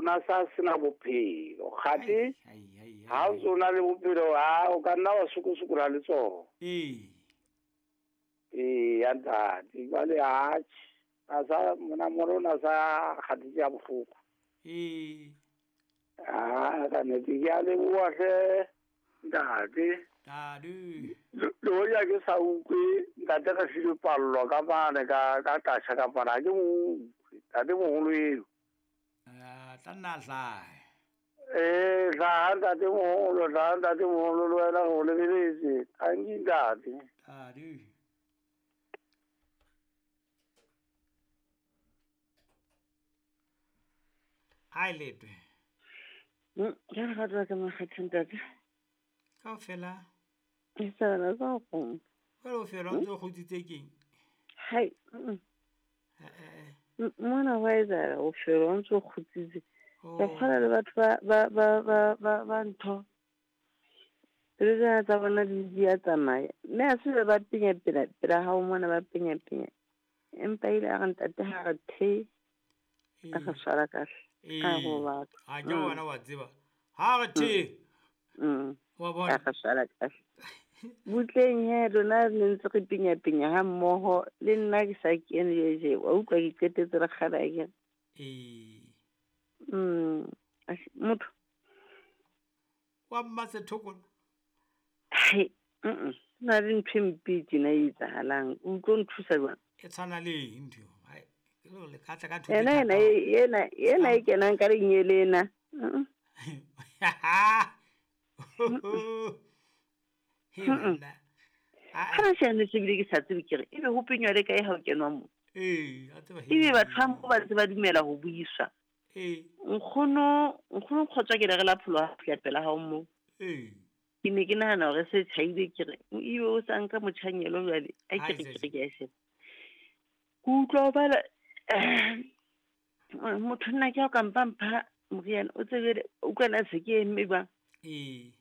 na sa sena bophelo. Kgate ha o ntso na le bophelo ha o ka nna wa sokosokola le tsona. Ee. Ee, ya ntate. Jwale atjhe. A sa monamolo o na sa kgathetse ya bohloko. Ee. Ah, ka nnete ke a leboha hle ntate. Ntate. Le hoja ke sa utlwe ntate re filwe pallo ka mane ka tasha ka mane ha ke mo utlwe. Ntate moholo eo. Ah, tla nna hlahe. Ee, hlaha ntate moholo, hlaha ntate moholo le wena re o lebeletse. Tanki ntate. Ntate. Ai letwe. Ke re ga ka makgethe ntate. Kaofela. E sa bana sa go. Jwale o fela o ntse o kgutsitse keng? Hai. Mona wa etsahala o fela o ntse o kgutsitse. Ke kgona le batho ba ntho. Pelo tsena tsa bona di a tsamaya. Mme ha se ba penya pela hao mona ba penya penya. Empa ile a re ntate ha re the a re tshwara kahle. A go batho. Ha ke wena wa tseba. Ha re the. Wa bona. A re tshwara kahle. Butleng he lona le ntse re penya penya ha mmoho le nna ke sa kene je wa utlwa ke qetetse re kgala ke. Ee. Motho. Wa mmasethokola. Hai, na le ntho e mpe tjena e etsahalang. O tlo nthusa jwang? E tshwana le eng ntho eo? Hai, ke le ka tla ka ntho Ena e kenang ka lenyele ena. He banna. Ha re shane se bile ke sa tsebe ke re ebe ho penywa le kae ha o kenwa mo? Ee, a tseba. Ebe batho ba mo ba ntse ba dumela ho buiswa. Ee. Nkgono kgotswa ke le re la pholo ha fihla pela hao mo. Ee. Ke ne ke nahana hore se tjhaile ke re ebe o sa nka motjhanyelo jwale a ke re ke a sheba. Ke utlwa bala motho nna ke ha o ka mpa mpha moriana o tsebe o utlwa na se ke eme jwang. Ee.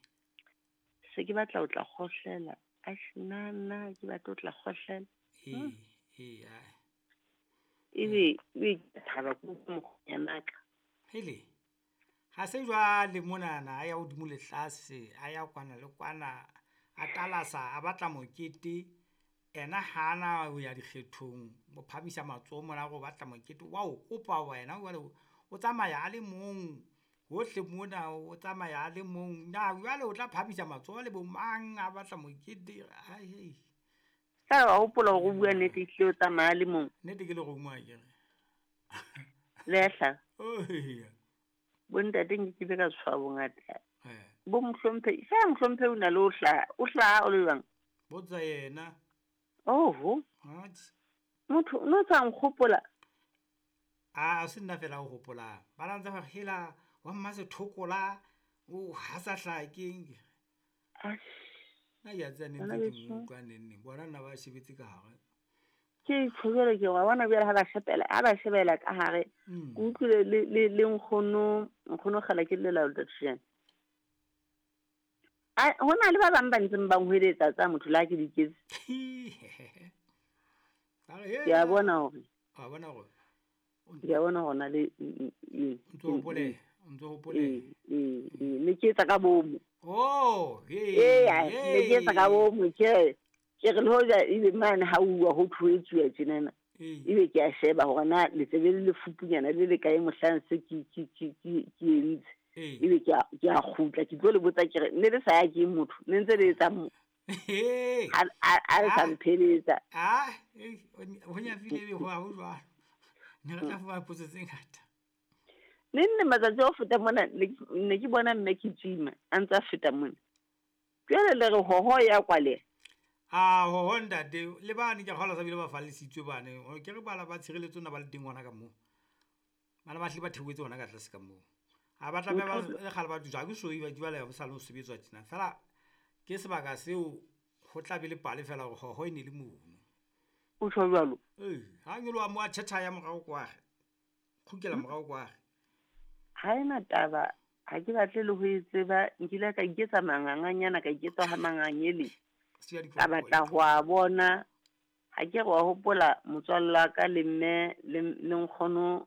Se ke batla ho tla kgohlela. Eish, nna ke batla ho tla kgohlela. Ee, ai. Ebe ke thaba ke mokgwanaka. Hele. Ha se jwale monana a ya hodimo le tlase, a ya kwana le kwana, a talasa, a batla mokete. Ena hana ho ya dikgethong, o phamisa matsoho mona go batla mokete wa o kopa wena jwale o tsamaya a le mong hohle mona o tsamaya a le mong. Na jwale o tla phamisa matsoho le bo mang a batla mokete? Ai hei. Ka wa hopola hore o bua nnete ehlile o tsamaya a le mong. Nnete ke le romo akere. Le a hlaha. Oh yeah. Bo ntate nke ke be ka tshwa bongata. Bo mohlomphe, sa mohlomphe o na le o hlaha, o hlaha o le jwang? Botsa yena. Oho. Motho no tsa nkgopola. A se nna fela o hopola. Ba la ntse ba hela wa mmasethokola o ha sa hlaha keng. Nna ke a tseba ne ntse ke mo utlwa neng. Bona nna ba shebetse ka hare. Ke tshwere ke wa bona bjale ha ba shebela, ha ba shebela ka hare. Ke utlwile le nkgono, nkgono kgala ke lela le. A hona le ba bang ba ntseng ba nhweletsa tsa motho la ke diketse. Ke a bona hore. A bona hore. Ke a bona hore na le ntso hopole, ntso hopole. Ne ke etsa ka bomo. Oh, ee, ne ke etsa ka bomo ke re le hoja ebe mane ha uwa ho thuetsuwa tjenana. Ebe ke a sheba hore na letsebe le lefupunyana le le kae mohlang se ke entse. Ebe ke a kgutla ke tlo le botsa ke re ne le sa ya ke motho ne ntse le etsa mo. A le sa mpheletsa. Ah, ho nyafile ebe ho ha ho jwalo. Ne re tla fumana potso tse ngata. Ne nne matsatsi a ho feta mona ne ke bona mme ke tsima a ntse a feta mona. Jwale le re hoho ya kwaleha. Ah, hoho ntate le bane ke kgolwa sa bile ba fallisitswe bane. Ke re bala ba tshireletso na ba le teng hona ka moo. Bana ba hle ba theohetse hona ka tlase ka moo. Ha ba tlameha ba le kgale ba dutse, ha ke so ba jwale ba sa le ho sebetswa tjena. Feela ke sebaka seo ho tla be le pale fela hore hoho e ne le mono. O tjho jwalo? Ee, ha nyoloha mo a tjhetjha ya morao kwage. Kgukela morao kwage. Ha ena taba, ha ke batle le ho e tseba, nkile ka iketsa manganganyana, ka iketsa ha mangangele. Ka batla ho a bona, ha ke re wa hopola motswalle wa ka le mme le nkgono